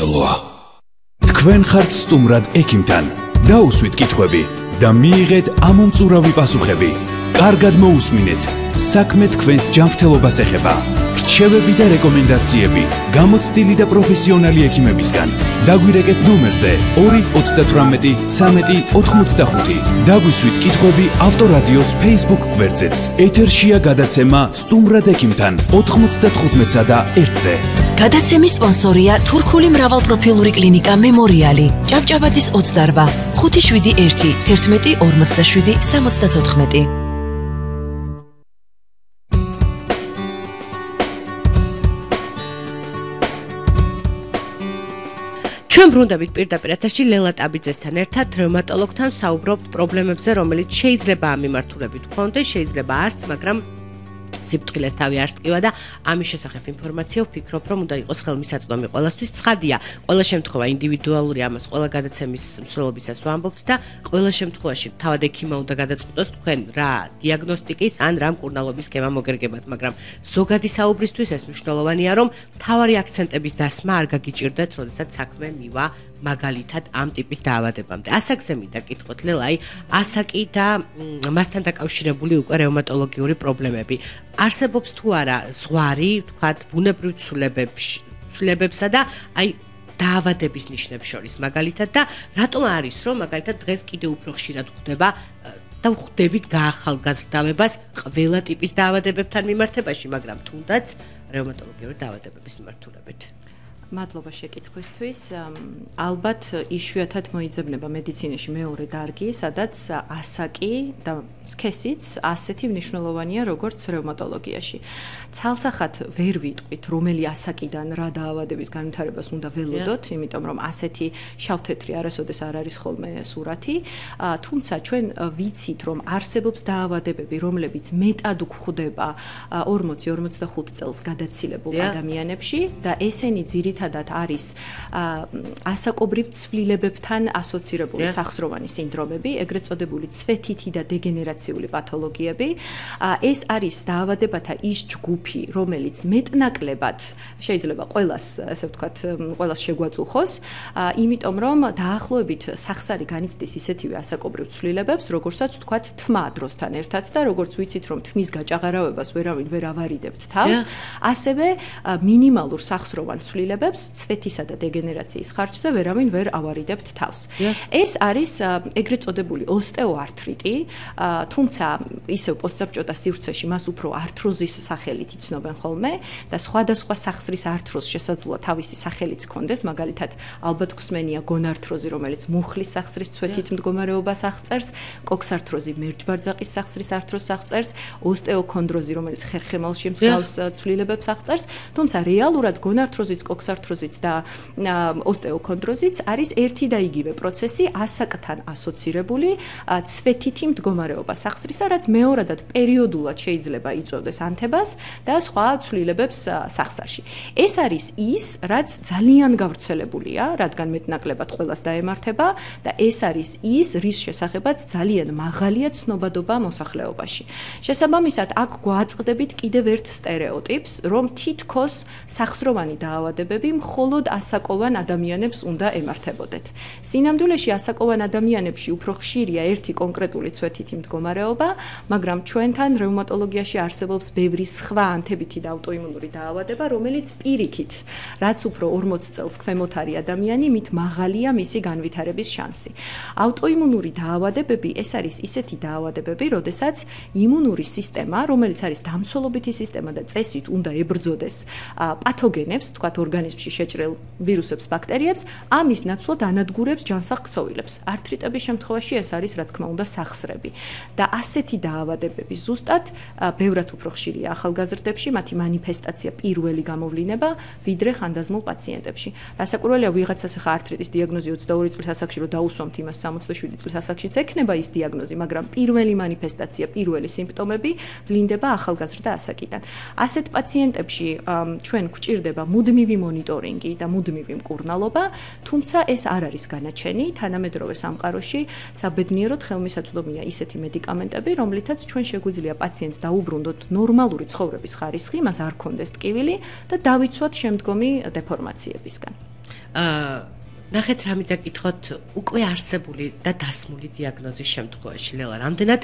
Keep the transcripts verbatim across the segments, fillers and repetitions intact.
ჯანმრთელოა. თქვენ ხართ სტუმრად ექიმთან. დაუსვით კითხვები და მიიღეთ ამომწურავი პასუხები. კარგად მოусმინეთ. საქმე თქვენს ჯანმრთელობას ეხება. რჩევები და რეკომენდაციები გამოცდილი და პროფესიონალი ექიმებისგან. დაგვირეკეთ ნომერზე ორი ოცდათვრამეტი ცამეტი ოთხმოცდახუთი. დაგვისვით კითხვები ავტორადიოს Facebook გვერდზეც. ეთერშია გადაცემა სტუმრად ექიმთან ოთხმოცდათხუთმეტსა და ერთზე. გადაცემის სპონსორია თურქული მრავალპროფილური კლინიკა მემორიალი. ჭავჭავაძის ოცდარვა ხუთი შვიდი ერთი თერთმეტი ორმოცდაშვიდი სამოცდათოთხმეტი. ჩვენ ბრუნდებით პირდაპირ ეთერში ლელა ტაბიძესთან ერთად რევმატოლოგთან საუბრობთ პრობლემებზე, რომელიც შეიძლება ამ მიმართულებით გქონდეს, შეიძლება არც, მაგრამ სიფრთხილეს თავი არ სკივა და ამის შესახებ ინფორმაცია ვფიქრობ, რომ უნდა იყოს ხელმისაწვდომი ყველასთვის. ცხადია, ყველა შემთხვევა ინდივიდუალური, ამას ყველა გადაცემის მსვლელობისას ვამბობთ და ყველა შემთხვევაში თავად ექიმმა უნდა გადაწყვიტოს თქვენ რა დიაგნოსტიკის ან რა მკურნალობის სქემა მოგერგებათ, მაგრამ ზოგადი საუბრისთვის ეს მნიშვნელოვანია, რომ მთავარი აქცენტების დასმა არ გაგიჭირდეთ, როდესაც საქმე მივა მაგალითად ამ ტიპის დაავადებამდე. ასაკზე მინდა კითხოთ, ლელაი, ასაკი და მასთან დაკავშირებული უკვე რევმატოლოგიური პრობლემები. არსებობს თუ არა ზღვარი, თქვათ, ბუნებრივ ცვლილებებსა და აი დაავადების ნიშნებს შორის მაგალითად და რატომ არის, რომ მაგალითად დღეს კიდევ უფრო ხშირად გვხვდება და ვხვდებით გაახალგაზრდავებას ყველა ტიპის დაავადებებთან მიმართებაში, მაგრამ თუნდაც რევმატოლოგიური დაავადებების მიმართულებით. მადლობა შეკითხვისთვის. ალბათ იშვიათად მოიძებნება მედიცინაში მეორე დარგი, სადაც ასაკი და სქესიც ასეთი მნიშვნელოვანია, როგორც რევმატოლოგიაში. ცალსახად ვერ ვიტყვით, რომელი ასაკიდან რა დაავადების განვითარებას უნდა ველოდოთ, იმიტომ რომ ასეთი შავთეთრი არასოდეს არ არის ხოლმე სურათი. თუმცა ჩვენ ვიცით, რომ არსებობს დაავადებები, რომლებიც მეტად გვხვდება ორმოცი ორმოცდახუთ წელს გადაცილებულ ადამიანებში და ესენი ძირითადად არის ასაკობრივ ცვლილებებთან ასოცირებული სახსროვანი სინდრომები, ეგრეთ წოდებული ცვეთითი და დეგენერაციული პათოლოგიები. ეს არის დაავადებათა ის ჯგუფი, რომელიც მეტნაკლებად შეიძლება ყველას, ასე ვთქვათ, ყველას შეგვაწუხოს, იმიტომ რომ დაახლოებით სახსარი განიცდის ისეთივე ასაკობრივ ცვლილებებს, როგორცაც ვთქვათ თმა დროსთან ერთად და როგორც ვიცით, რომ თმის გაჭაღარავებას ვერავინ ვერ ავარიდებთ თავს, ასევე მინიმალურ სახსროვან ცვლილებებს ცვეთისა და დეგენერაციის ხარჯზე ვერავინ ვერ ავარიდებთ თავს. ეს არის ეგრეთ წოდებული ოსტეოართრიტი, თუმცა ისევ პოსტსაბჭოთა სივრცეში მას უფრო ართროზის სახელით იცნობენ ხოლმე და სხვადასხვა სახსრის ართროზს შესაძლოა თავისი სახელიც ჰქონდეს, მაგალითად ალბათ გსმენია გონართროზი, რომელიც მუხლის სახსრის ცვეთით მდგომარეობას აღწერს, კოქსართროზი მერჯბარძაყის სახსრის ართროზს აღწერს, ოსტეოქონდროზი, რომელიც ხერხემალში მსგავს ცვლილებებს აღწერს, თუმცა რეალურად გონართროზიც, კოქსართროზიც და ოსტეოქონდროზიც არის ერთი და იგივე პროცესი, ასაკთან ასოცირებული ცვეთითი მდგომარეობა სახსრისა, რაც მეორადად პერიოდულად შეიძლება იწვევდეს ანთებას და სხვა ცვლილებებს სახსარში. ეს არის ის, რაც ძალიან გავრცელებულია, რადგან მეტნაკლებად ყველას დაემართება და ეს არის ის, რის შესახებაც ძალიან მაღალია ცნობადობა მოსახლეობაში. შესაბამისად, აქ გვაწყდებით კიდევ ერთ სტერეოტიპს, რომ თითქოს სახსროვანი დაავადებები მხოლოდ ასაკოვან ადამიანებს უნდა ემართებოდეთ. სინამდვილეში ასაკოვან ადამიანებში უფრო ხშირია ერთი კონკრეტული ცვეთითი მდგომარეობა, მაგრამ ჩვენთან რევმატოლოგიაში არსებობს ბევრი სხვა ანთებითი და აუტოიმუნური დაავადება, რომელიც პირიქით, რაც უფრო ორმოც წელს ქვემოთ არის ადამიანი, მით მაღალია მისი განვითარების შანსი. აუტოიმუნური დაავადებები ეს არის ისეთი დაავადებები, როდესაც იმუნური სისტემა, რომელიც არის დამცველობითი სისტემა და წესით უნდა ებრძოდეს პათოგენებს, თქვათ ორგანიზმში შეჭრილ ვირუსებს, ბაქტერიებს, ამის ნაცვლად ანადგურებს ჯანსაღ ქსოვილებს. ართრიტების შემთხვევაში ეს არის, რა თქმა უნდა, სახსრები. და ასეთი დაავადებები ზუსტად ბევრად უფრო ხშირია ახალგაზრდებში, მათი მანიფესტაცია პირველი გამოვლინება, ვიდრე ხანდაზმულ პაციენტებში. რასაკვირველია, ვიღაცას ახლა ართრიტის დიაგნოზი ოცდაორი წლის ასაკში რო დაუსვამთ იმას სამოცდაშვიდი წლის ასაკშიც ექნება ის დიაგნოზი, მაგრამ პირველი მანიფესტაცია, პირველი სიმპტომები ვლინდება ახალგაზრდა ასაკიდან. ასეთ პაციენტებში ჩვენ გვჭირდება მუდმივი მონიტორინგი და მუდმივი მკურნალობა, თუმცა ეს არ არის განაჩენი, თანამედროვე სამყაროში საბედნიეროდ ხელმისაწვდომია ისეთი მედიკამენტები, რომლითაც ჩვენ შეგვიძლია პაციენტს დაუბრუნდოთ ნორმალური ცხოვრების ხარისხი, მას არ ქონდეს ტკივილი და დავიცვათ შემდგომი დეფორმაციებისგან. აა ნახეთ რა მინდა გითხოთ, უკვე არსებული და დასმული დიაგნოზის შემთხვევაში ლელა რამდენად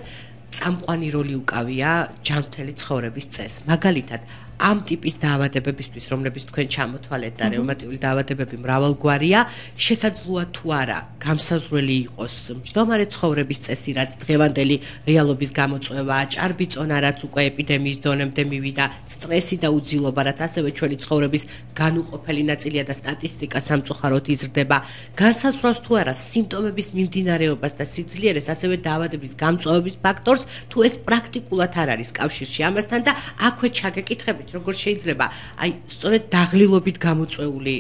წამყვანი როლი უკავია ჯანმრთელი ცხოვრების წესს. მაგალითად, ამ ტიპის დაავადებებისთვის, რომლებიც თქვენ ჩამოთვალეთ და რევმატიული დაავადებები მრავალგვარია, შესაძლოა თუ არა გამსაზღვრელი იყოს მჯდომარე ცხოვრების წესი, რაც დღევანდელი რეალობის გამოწვევაა, ჭარბიწონა, რაც უკვე ეპიდემიის დონემდე მივიდა, სტრესი და უძილობა, რაც ასევე ჩვენი ცხოვრების განუყოფელი ნაწილია და სტატისტიკა სამწუხაროდ იზრდება, განსაზღვრავს თუ არა სიმპტომების მიმდინარეობას და სიძლიერეს, ასევე დაავადების გამწვევების ფაქტორს, თუ ეს პრაქტიკულად არ არის კავშირში ამასთან და აქვე ჩაგეკითხებით როგორ შეიძლება აი სწორედ დაღლილობით გამოწვეული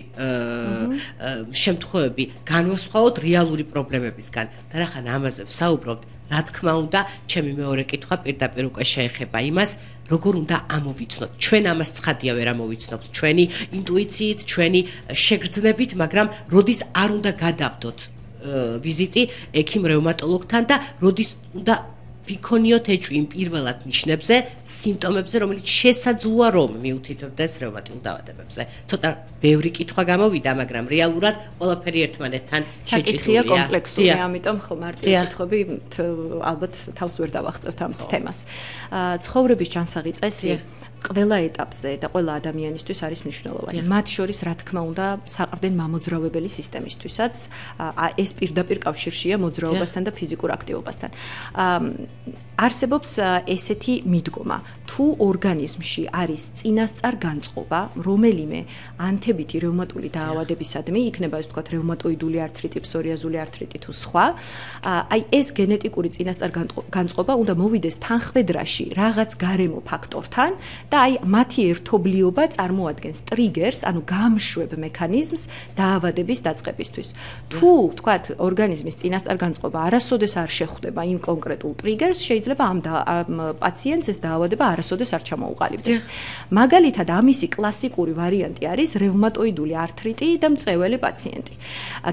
შემთხვევები განვასხვაოთ რეალური პრობლემებისგან და რახან ამაზე ვსაუბრობთ რა თქმა უნდა ჩემი მეორე კითხვა პირდაპირ უკვე შეეხება იმას როგორ უნდა ამოვიცნოთ ჩვენ ამას ცხადია ვერ ამოვიცნობთ ჩვენი ინტუიციით ჩვენი შეგრძნებით მაგრამ როდის არ უნდა გადავდოთ ვიზიტი ექიმ რევმატოლოგთან და როდის უნდა ვიქონიოთ ეჭვი იმ პირველად ნიშნებზე, სიმპტომებზე, რომელიც შესაძლოა რომ მიუთითებდეს რევმატიულ დაავადებებზე. ცოტა ბევრი კითხვა გამოვიდა, მაგრამ რეალურად ყველაფერი ერთმანეთთან შეჭიდულია. კომპლექსური, ამიტომ ხო მარტივი კითხვები ალბათ თავს ვერ დავახწევთ ამ თემას. ცხოვრების ჯანსაღი წესი ყველა ეტაპზე და ყველა ადამიანისთვის არის მნიშვნელოვანი. მათ შორის, რა თქმა უნდა, საყრდენ მამოძრავებელი სისტემისთვისაც ეს პირდაპირ კავშირშია მოძრაობასთან და ფიზიკურ აქტივობასთან. არსებობს ესეთი მიდგომა, თუ ორგანიზმში არის წინასწარ განწყობა, რომელიმე ანთებითი რევმატული დაავადებისადმი, იქნება ეს ვთქვათ რევმატოიდული ართრიტი, ფსორიაზული ართრიტი თუ სხვა, აი ეს გენეტიკური წინასწარ განწყობა უნდა მოვიდეს თანხმედრაში რაღაც გარემო ფაქტორთან და აი მათი ერთობლიობა წარმოადგენს ტრიგერს, ანუ გამშვებ მექანიზმს დაავადების დაწყებისთვის. თუ ვთქვათ ორგანიზმის წინასწარ განწყობა არასოდეს არ შეხვდება იმ კონკრეტულ ტრიგერს, შეიძლება ამ პაციენტს ეს დაავადება არასოდეს არ ჩამოუყალიბდეს. მაგალითად, ამისი კლასიკური ვარიანტი არის რევმატოიდული ართრიტი და მწეველი პაციენტი.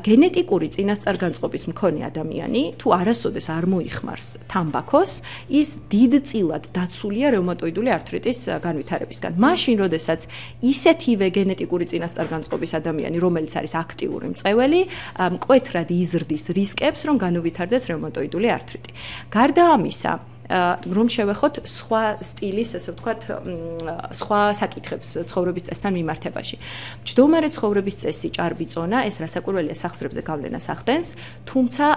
გენეტიკური წინასწარ განწყობის მქონე ადამიანი, თუ არასოდეს არ მოიხმარს თამბაქოს, ის დიდწილად დაცულია რევმატოიდული ართრიტის განვითარებისგან. მაშინ, როდესაც ისეთივე გენეტიკური წინასწარ განწყობის ადამიანი, რომელიც არის აქტიური მწეველი, მკვეთრად იზრდის რისკებს, რომ განუვითარდეს რევმატოიდული ართრიტი. გარდა ამისა, რომ შევეხოთ სხვა სტილის, ასე ვთქვათ, სხვა საკითხებს ცხოვრების წესთან მიმართებაში. მჯდომარე ცხოვრების წესი, ჭარბი წონა, ეს რასაკვირველია სახსრებზე გავლენას ახდენს, თუმცა